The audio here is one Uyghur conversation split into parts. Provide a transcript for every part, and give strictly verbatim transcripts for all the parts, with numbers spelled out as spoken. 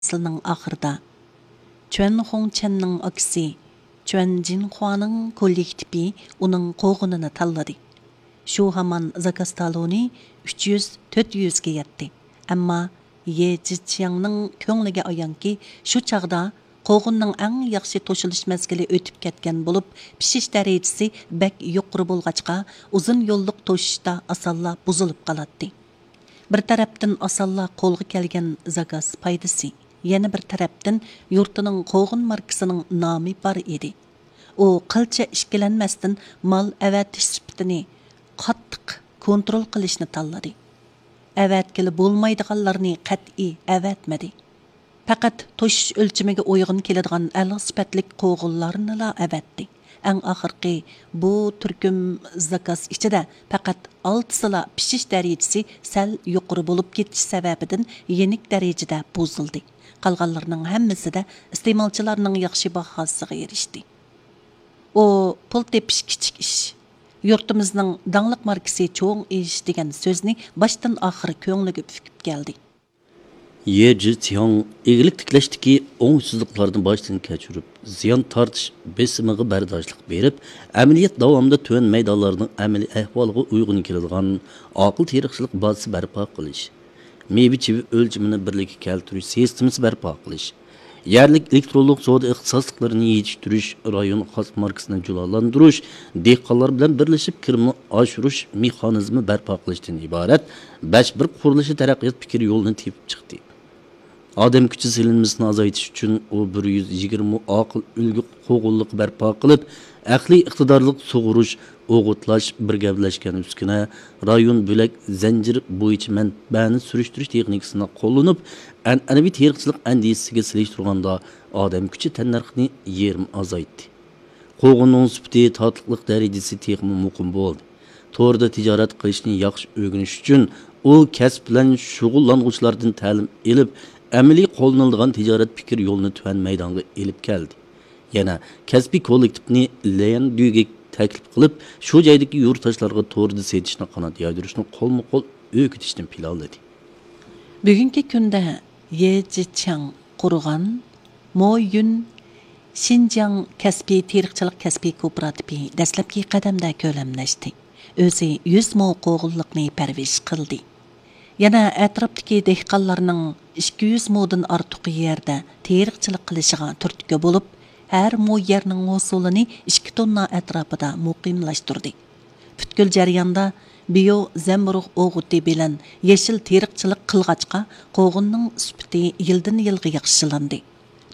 پەسلىنىڭ ئاخىرىدا، چۈەن خۇڭچەننىڭ ئاكىسى چۈەن جىنخۇانىڭ كوللېكتىپى ئۇنىڭ قوغۇنىنى تاللىدى. شۇ ھامان زاكاز تالونى ئۈچ يۈز، تۆت يۈزگە يەتتى. ئەمما يې جىچياڭنىڭ كۆڭلىگە ئايانكى، شۇ چاغدا قوغۇننىڭ ئەڭ ياخشى توشۇلۇش مەزگىلى ئۆتۈپ كەتكەن بولۇپ، پىشىش دەرىجىسى بەك يۇقىرى بولغاچقا، ئۇزۇن يوللۇق توشۇشتا ئاسانلا بۇزۇلۇپ قالاتتى. بىر تەرەپتىن ئاسانلا قولغا كەلگەن زاكاز پايدىسى، يەنە بىر تەرەپتىن يۇرتىنىڭ قوغۇن ماركىسىنىڭ نامى بار ئىدى. ئۇ قىلچە ئىككىلەنمەستىن مال ئەۋەتىش سۈپىتىنى قاتتىق كونترول قىلىشنى تاللىدى. ئەۋەتكىلى بولمايدىغانلارنى قەتئىي ئەۋەتمىدى. پەقەت توشۇش ئۆلچىمىگە ئۇيغۇن كېلىدىغان ئەلا سۈپەتلىك قوغۇنلارنىلا ئەۋەتتى. ئەڭ ئاخىرقى بۇ تۈركۈم زاكاز ئىچىدە پەقەت ئالتىسىلا پىشىش دەرىجىسى سەل يۇقىرى بولۇپ كېتىش سەۋەبىدىن يېنىك دەرىجىدە بۇزۇلدى. قالغانلىرىنىڭ ھەممىسىدە ئىستېمالچىلارنىڭ ياخشى باھاسىغا ئېرىشتى. ئۇ پۇل تېپىش كىچىك ئىش، يۇرتىمىزنىڭ داڭلىق ماركىسى چوڭ ئىش دېگەن سۆزنى باشتىن ئاخىر كۆڭلىگە پۈكۈپ كەلدى. يې جىچياڭ ئىگىلىك تىكلەشتىكى ئوڭۇشسىزلىقلارنى باشتىن كەچۈرۈپ، زىيان تارتىش بېسىمىغا بەرداشلىق بېرىپ، ئەمەلىيەت داۋامىدا تۆۋەن مەيدانلارنىڭ ئەمەلىي ئەھۋالىغا ئۇيغۇن كېلىدىغان ئاقىل تېرىقچىلىق بازىسى بەرپا قىلىش، مېۋە چىۋە ئۆلچىمىنى بىرلىككە كەلتۈرۈش سىستېمىسى بەرپا قىلىش، يەرلىك ئېلېكترونلۇق سودا ئىختىساسلىقلىرىنى يېتىشتۈرۈش، رايون خاس ماركىسىنى جۇلالىندۇرۇش، دېھقانلار بىلەن بىرلىشىپ كىرىمنى ئاشۇرۇش مېخانىزمى بەرپا قىلىشتىن ئىبارەت بەش بىر قۇرۇلۇشى تەرەققىيات پىكىر يولىنى تېپىپ چىقتى. ئادەم كۈچى سېلىنمىسىنى ئازايتىش ئۈچۈن ئۇ بىر يۈز يىگىرمە ئاقىل ئۈلگە قوغۇنلۇقى بەرپا قىلىپ، ئەقلىي ئىقتىدارلىق سۇغۇرۇش، ئوغۇتلاش، بىر گەۋدىلەشكەن ئۈسكۈنە، رايون بۆلەك زەنجىرى بويىچە مەنبەنى سۈرۈشتۈرۈش تېخنىكىسىنى قوللىنىپ، ئەنئەنىۋى تېرىقچىلىق ئەندىزىسىگە سېلىشتۇرغاندا ئادەم كۈچى تەننەرخىنى يېرىم ئازايتتى. قوغۇننىڭ سۈپىتى، تاتلىقلىق دەرىجىسى تېخىمۇ مۇقىم بولدى. توردا تىجارەت قىلىشنى ياخشى ئۆگىنىش ئۈچۈن ئۇ كەسىپ بىلەن شۇغۇللانغۇچىلاردىن تەلىم ئېلىپ، ئەمەلىي قوللىنىلىدىغان تىجارەت پىكىر يولىنى تۆۋەن مەيدانغا ئېلىپ كەلدى. يەنە كەسپىي كوللېكتىپنى ليەندۈگە تەكلىپ قىلىپ، شۇ جايدىكى يۇرتداشلارغا توردا سېتىشنى قانات يايدۇرۇشنى قولمۇ قول ئۆگىتىشنى پىلانلىدى. بۈگۈنكى كۈندە يې جىچياڭ قۇرغان مويۈن شىنجاڭ كەسپىي تېرىقچىلىق كەسپىي كوپىراتىپى دەسلەپكى قەدەمدە كۆلەملەشتى. ئۆزى يۈز مو قوغۇنلۇقنى پەرۋىش قىلدى. يەنە ئەتراپتىكى دېھقانلارنىڭ ئىككى يۈز مودىن ئارتۇق يەردە تېرىقچىلىق قىلىشىغا تۈرتكە بولۇپ، ھەر مو يەرنىڭ ھوسۇلىنى ئىككى توننا ئەتراپىدا مۇقىملاشتۇردى. پۈتكۈل جەرياندا بىيو زەمبۇرۇغ ئوغۇتى بىلەن يېشىل تېرىقچىلىق قىلغاچقا، قوغۇننىڭ سۈپىتى يىلدىن يىلغا ياخشىلاندى.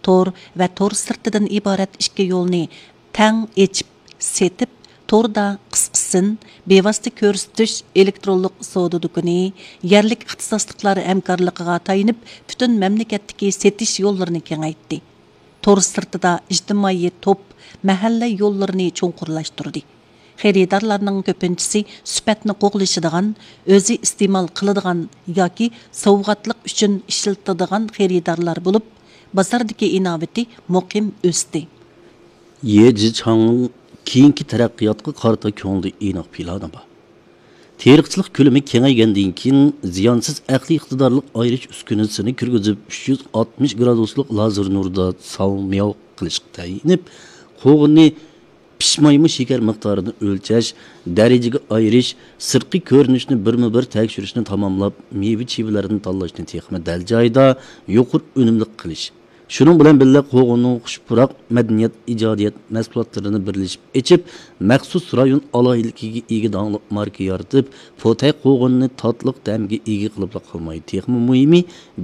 تور ۋە تور سىرتىدىن ئىبارەت ئىككى يولنى تەڭ ئېچىپ سېتىپ، توردا قىسقىسىن، بىۋاسىتە كۆرسىتىش ئېلېكترونلۇق سودا دۇكىنى، يەرلىك ئىختىساسلىقلار ھەمكارلىقىغا تايىنىپ، پۈتۈن مەملىكەتتىكى سېتىش يوللىرىنى كېڭەيتتى. تور سىرتىدا ئىجتىمائىي توپ، مەھەللە يوللىرىنى چوڭقۇرلاشتۇردى. خېرىدارلارنىڭ كۆپىنچىسى سۈپەتنى قوغلىشىدىغان، ئۆزى ئىستېمال قىلىدىغان ياكى سوۋغاتلىق ئۈچۈن ئىشلىتىدىغان خېرىدارلار بولۇپ، بازاردىكى ئىناۋىتى مۇقىم ئۆستى. يې جىچاڭنىڭ كېيىنكى تەرەققىياتقا قارىتا كۆڭلىدە ئېنىق پىلانى بار. تېرىقچىلىق كۆلىمى كېڭەيگەندىن كېيىن، زىيانسىز ئەقلىي ئىقتىدارلىق ئايرىش ئۈسكۈنىسىنى كىرگۈزۈپ، ئۈچ يۈز ئاتمىش گرادۇسلۇق لازېر نۇردا ساۋمياۋ قىلىشقا تەيىنىپ، قوغۇننى پىشمايمۇ شېكەر مىقدارىنى ئۆلچەش، دەرىجىگە ئايرىش، سىرتقى كۆرۈنۈشنى بىرمۇ بىر تەكشۈرۈشنى تاماملاپ، مېۋە چىۋىلىرىنى تاللاشنى تېخىمۇ دەل جايىدا، يۇقىرى ئۈنۈملۈك قىلىش. شۇنىڭ بىلەن بىللە، قوغۇننىڭ خۇش پۇراق مەدەنىيەت، ئىجادىيەت مەھسۇلاتلىرىنى بىرلىشىپ ئېچىپ، مەخسۇس رايون ئالاھىدىلىكىگە ئىگە داڭلىق ماركا يارىتىپ، پوتەي قوغۇننى تاتلىق تەمگە ئىگە قىلىپلا قالماي، تېخىمۇ مۇھىمى،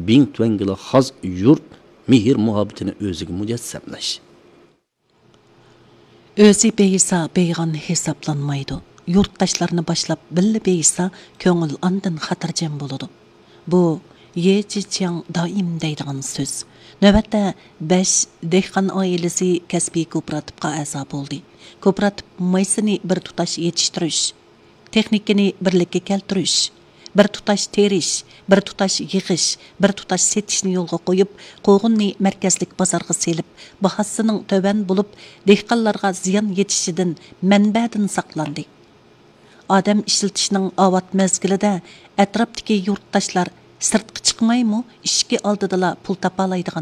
بىڭتۈەنگىلا خاس يۇرت مېھىر مۇھەببىتىنى ئۆزىگە مۇجەسسەملەش. ئۆزى بېيىسا بېيىغان ھېسابلانمايدۇ. يۇرتداشلارنى باشلاپ بىللە بېيىسا، كۆڭۈل ئاندىن خاتىرجەم بولىدۇ. بۇ يې جىچياڭ دائىم دەيدىغان سۆز. نۆۋەتتە بەش دېھقان ئائىلىسى كەسپىي كوپىراتىپقا ئەزا بولدى. كوپىراتىپ مايسىنى بىر تۇتاش يېتىشتۈرۈش، تېخنىكىنى بىرلىككە كەلتۈرۈش، بىر تۇتاش تېرىش، بىر تۇتاش يىغىش، بىر تۇتاش سېتىشنى يولغا قويۇپ، قوغۇننى مەركەزلىك بازارغا سېلىپ، باھاسىنىڭ تۆۋەن بولۇپ، دېھقانلارغا زىيان يېتىشىدىن، مەنبەدىن ساقلاندى. ئادەم ئىشلىتىشنىڭ ئاۋات مەزگىلىدە ئەتراپتىكى يۇرتداشلار سىرتقا چىقمايمۇ ئىشىكى ئالدىدىلا پۇل تاپالايدىغان